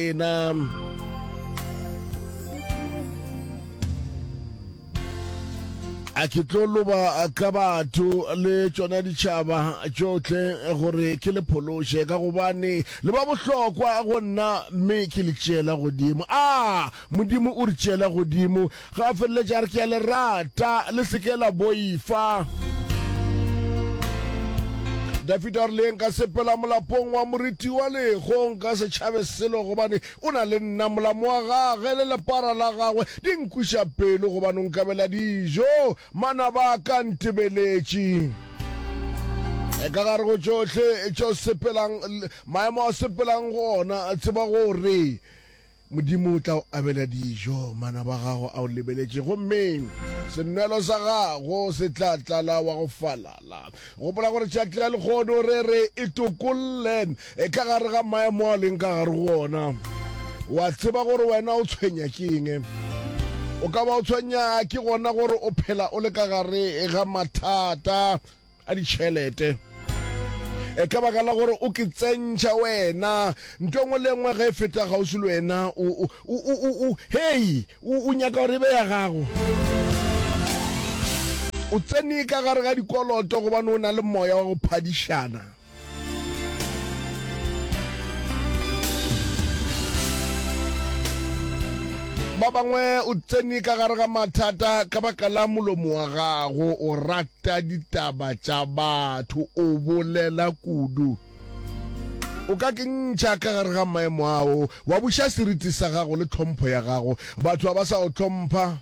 Lena. A ke tlo loba ka batho le tšona ditšhaba tšohle gore ke le phološe, ka gobane le ba bohlokwa go nna mme ke le tšeela godimo. A Modimo o re tšeela godimo ge a feleletša a re, Ke a le rata, le se ke la boifa. Dafida o re, Le nka sepela molapong wa moriti wa leho, nka se tšhabe selo, gobane o na le nna. Molamo wa gage le lepara la gagwe di nkwiša pelo, gobane o nkabela dijo, manaba a ka a ntebeletše. Ka gare go tšohle tše o sepelang, maemo a o sepelang go ona, tseba gore Modimo o tla o abela dijo, manaba a gago a o lebeletše, gomme senwelo sa gago se tla tlala wa go falala. Gopola gore tšatši la lehono re re e tokolle e ka gare ga maemo a leng ka gare go ona. Wa tseba gore wena o tshwenya ke eng? O ka ba o tshwenya ke gona gore o phela o le ka gare ga mathata. a ditšhelete e ka baka la gore o ke tsentšha wena nto engwe le engwe ge e feta kgauswi le wena o, o, o, o, o, hei o, o nyaka gore e be ya gago o tsene ka gare ga dikoloto gobane o na le moya wa go phadišana Ba bangwe o tsene ka gare ga mathata ka baka la molomo wa gago, o rata ditaba tša batho, o bolela kudu. O ka ke ntšha ka gare ga maemo ao, wa buša seriti sa gago le tlhompho ya gago. Batho ga ba sa go hlompha.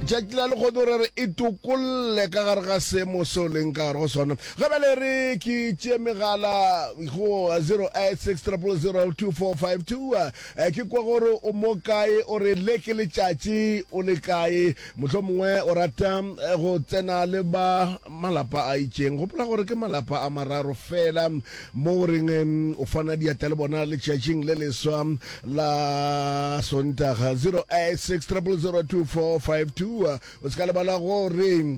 Tšatši la lehono re re e tokolle ka gare ga seemo seo leng ka gare go sona. Ga bjale re ke tšee megala go 086 000 2452. Eh, ke kwa gore o mo kae, o re le ke letšatši o le kae. Mohlomongwe o rata eh, go tsena le ba malapa a itšeng. Gopola gore ke malapa a mararo fela mo o reng o fana diatla le bona letšatšing le leswa la Sontaga. 086 000 2452. O se ka lebala gore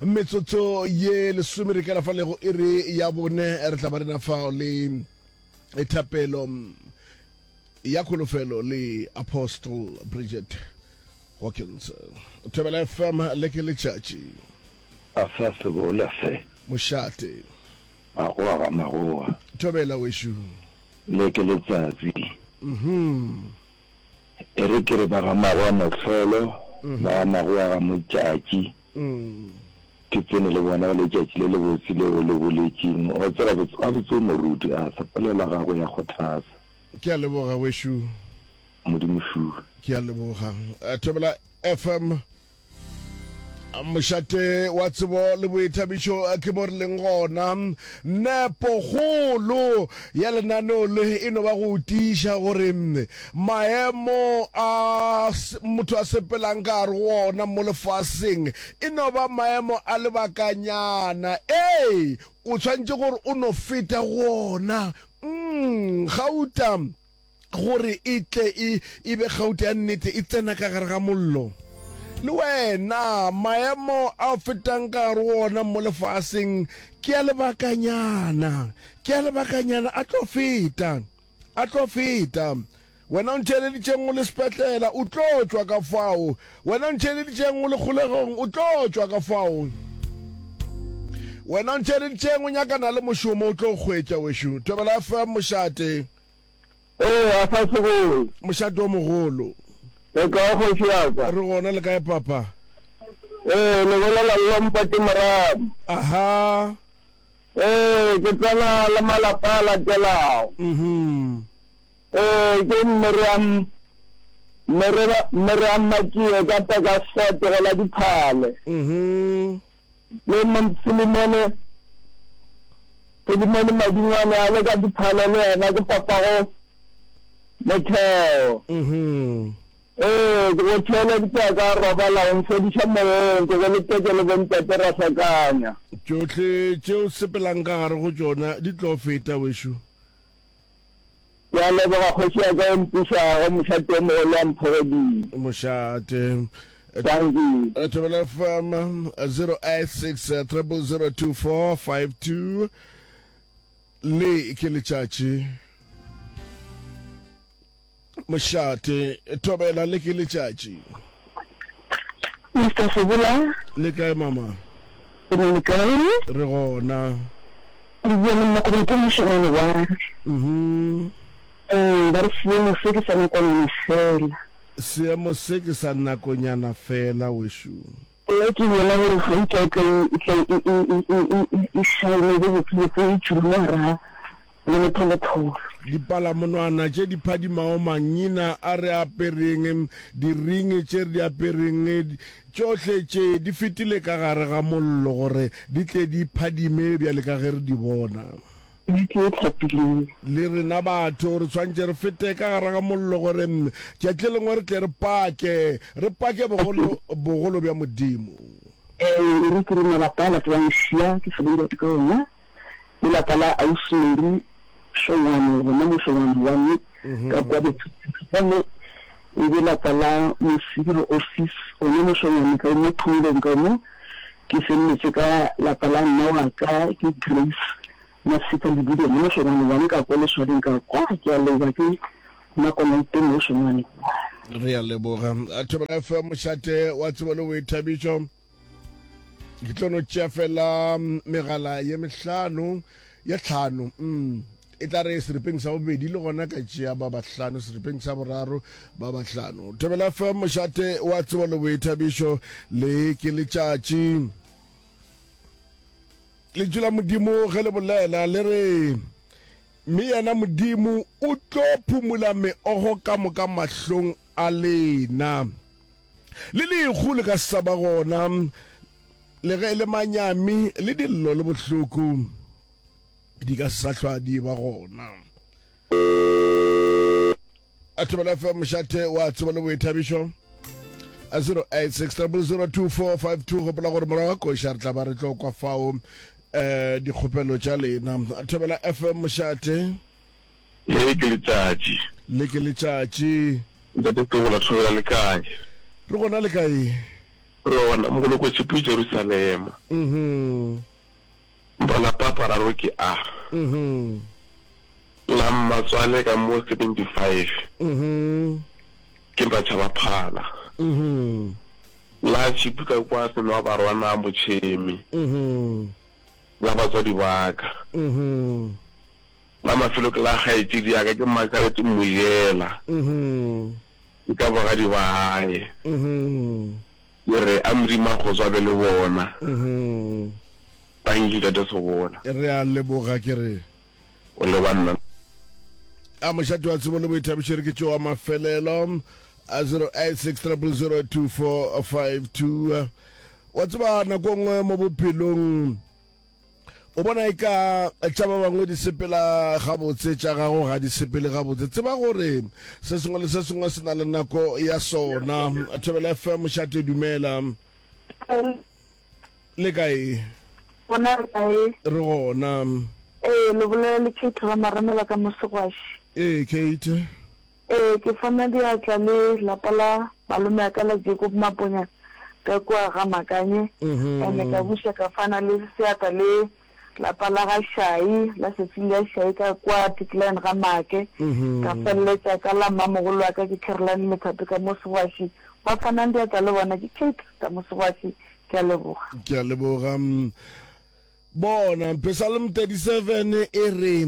metsotso ye lesome re kela fa lego iri ya bone re tla ba rena fao le thapelo ya kholofelo le Apostle Bridget Hawkins. Thobela FM le ke letšatši. A sa sebola se. Mošate. Magoa ga magoa. Thobela wešo. Le ke letsatsi. Mhm. E re ke re ba ga magoa mohlolo, ba ga magoa ga motšatši. Ke tsene le bona letšatši le lebotse leo le boletšeng. Wa tseba gabotse o moruti, a sa polelo ya gago ya kgothatsa. Ke a leboga wešo. Modimo šuwe. Ke a leboga. Thobela FM. Mošate wa tsebo le boithabišo ke mo re leng gona. Nepokgolo ya lenaneo le e no ba go tiiša gore maemo a motho a sepelang ka gare go ona mo lefaseng e no ba maemo a lebakanyana. Ee, o tshwanetše gore o no feta go ona. Mm, gauta. Gore e tle e, e be gauta ya nnete, e tsena ka gare ga mollo. Le wena, maemo a o fetang ka gare go ona mo lefaseng ke a lebakanyana, ke a lebakanyana, a tlo feta, a tlo feta. Wena o ntheeleditšeng o le sepetlela, o tlo tšwa ka fao. Wena o ntheeleditšeng o le kgolegong, o tlo tšwa ka fao. Wena o ntheeleditšeng o nyakana le mošomo, o tlo hwetša, wešo. Thobela FM, mošate. Ee, a sa segolo. Mošate o mogolo. Le kae kgoši ya ka? Re gona, le kae papa? Ee, le bolela le Lompati Moradi. Aha. Ee, ke tsena le malapa a latelago. Mhm. Ee, ke Miriam Miriam Miriam Matšie ka Pekasfort go la Diphale. Mhm. Le Filimone, Filimone Madingwane a le ka Diphale le yena ke papago Motheo. Mhm. Ee, ke go theeleditše ka robala o mfodiša moyeng, ke go letetše le bontate ra hlakanya. Tšohle tše o sepelang ka gare go tšona di tlo feta, wešo. Ke a leboga kgoši ya ka e mpušago, mošate o mogolo wa Mphogodimo. Mošate. Dankie. Thobela FM 086 0002452. Le ke letšatši. Mošate, thobela, le ke letšatši. Mister Sebola. Le kae mama? Ke na le kae? Re gona. Le bua le mma ke mošemane wa. Mhm. Ee, ba re seemo se ke sa nakonyana fela. Seemo se ke sa nakonyana fela wešo. Nna ke bona gore gauta e tla e tla e e e e e shine be botsebotse e tšwile mo gare ga lemetholetholo. Dipalamonwana tše di phadimago mangina a re apereng, diringi tše re di apereng, tšohle tše di fetile ka gare ga mollo gore di tle di phadime bjale ka ge re di bona. Di tše hlapileng. Le rena batho re swanetše re fete ka gare ga mollo gore tšatši le lengwe re tle re pake, re pake bogolo, bogolo bja Modimo. Ee, e re ke re malapa a latelang Šia ke Sebelebadi ka ona, le lapa la Ausi Mary Hlongwane gona mo Hlongwane one ka kwa Bethlehem, gomme e be lapa la Mosibiro Office gona mo Hlongwane ka mo Phomolong ka mo. Ke feleletše ka lapa la mma wa ka ke Grace Masika Lebidi gona mo Hlongwane one ka kwa Leswading ka kwa. Ke a leboga ke Makonaite mo Hlongwane one. Re a leboga. Thobela FM, mošate wa tsebo le boithabišo. Ke tlo no tšea fela megala ye mehlano, ye tlhano. Mm. E tla re seripeng sa bobedi le gona ka tšea ba bahlano, seripeng sa boraro ba bahlano. Thobela FM, mošate wa tsebo le boithabišo, le ke letšatši. Lentšu la Modimo ge le bolela le re, Mme yena Modimo o tlo phumola meogo ka moka mahlong a lena. Le lehu le ka se sa ba gona, le ge e le manyami le dillo le bohloko di ka se sa hlwa di ba gona. A Thobela FM mošate wa tsebo le boithabišo a 0860002452 gopola gore morago ga koša re tla ba re tlo kwa fao um dikgopelo tša lena. Thobela FM mošate. Le ke letšatši. Le ke letšatši. Ntate Tebola Thobela le kae? Re gona le kae? Re gona Mogolokwe Tšhipi Jerusalema. Mhm. Malapa a mararo ke a. Mhm. La mmatswale ka mo 75. Mhm. Ke Matšhaba Phala. Mhm. La Tšhipi ka kwa Senwabarwana Motšhemi. Mhm. La batswadi ba ka. Mhm. La mafelo ke la kgaetšedi ya ka ke Margaret Mojela. Mhm. Ke ka bogadi ba gae. Mhm. Ke re a Modimo a kgotso a be le bona. Mhm. Thank you Tate Sebola. Re a leboga ke re. O leba nna. A mošate wa tsebo le boithabišo re ke tšeo wa mafelelo a 086 0002452. Wa tseba nako nngwe mo bophelong O bona eka tša ba bangwe di sepela gabotse, tša gago ga di sepele gabotse. Tseba gore se sengwe le se sengwe se na le nako ya sona. Thobela FM, mošate dumela. Le kae? Gona re kae? Re gona. Ee, le bolela le Kate Ramaremela ka mo Segwaši. Ee, Kate. Ee, ke fana diatla le lapa la malome a ka la Jacob Maponya ka kua ga Makanye, and ka buša ka fana le seatla le lapa la ga Shai, la Cecilia Shai ka kua Tikline ga Make, ka feleletša ka la mmamogolo wa ka ke Caroline Methape ka mo Segwaši. Ba fanang diatla le bona ke Kate ka mo Segwaši. Ke a leboga. Ke a leboga. Bona, Psalm 37 e re,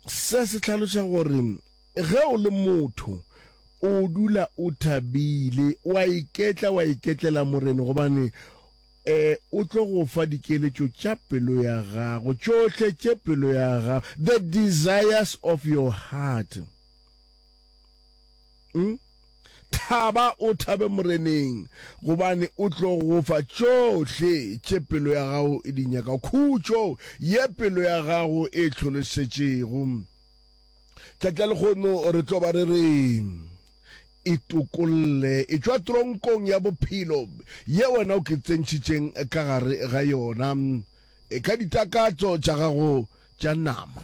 Se se hlaloša gore ge o le motho o dula o thabile, wa iketla, wa iketlela Morena, gobane eh, o tlo go fa dikeletšo tša pelo ya gago, tšohle tše pelo ya gago, the desires of your heart. Mm? Thaba o thabe Moreneng, gobane o tlo go fa tšohle tše pelo ya gago e di nyakago, khutšo ye pelo ya gago e hlolosetšego. Tšatši la lehono re tlo ba re re, Itokolle, etšwa tronkong ya bophelo ye wena o ke tsentšhitšeng ka gare ga yona, ka ditakatso tša gago tša nama.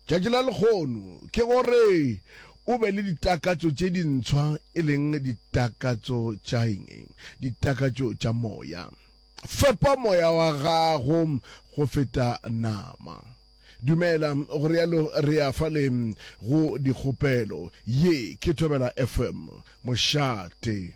Tšatši la lekgono ke gore o be le ditakatso tše dintshwa, e leng ditakatso tša eng? Ditakatso tša moya. Fepa moya wa gago go feta nama. Dumela, go realo re ya fale go dikgopelo. Ye ke Thobela FM, mošate.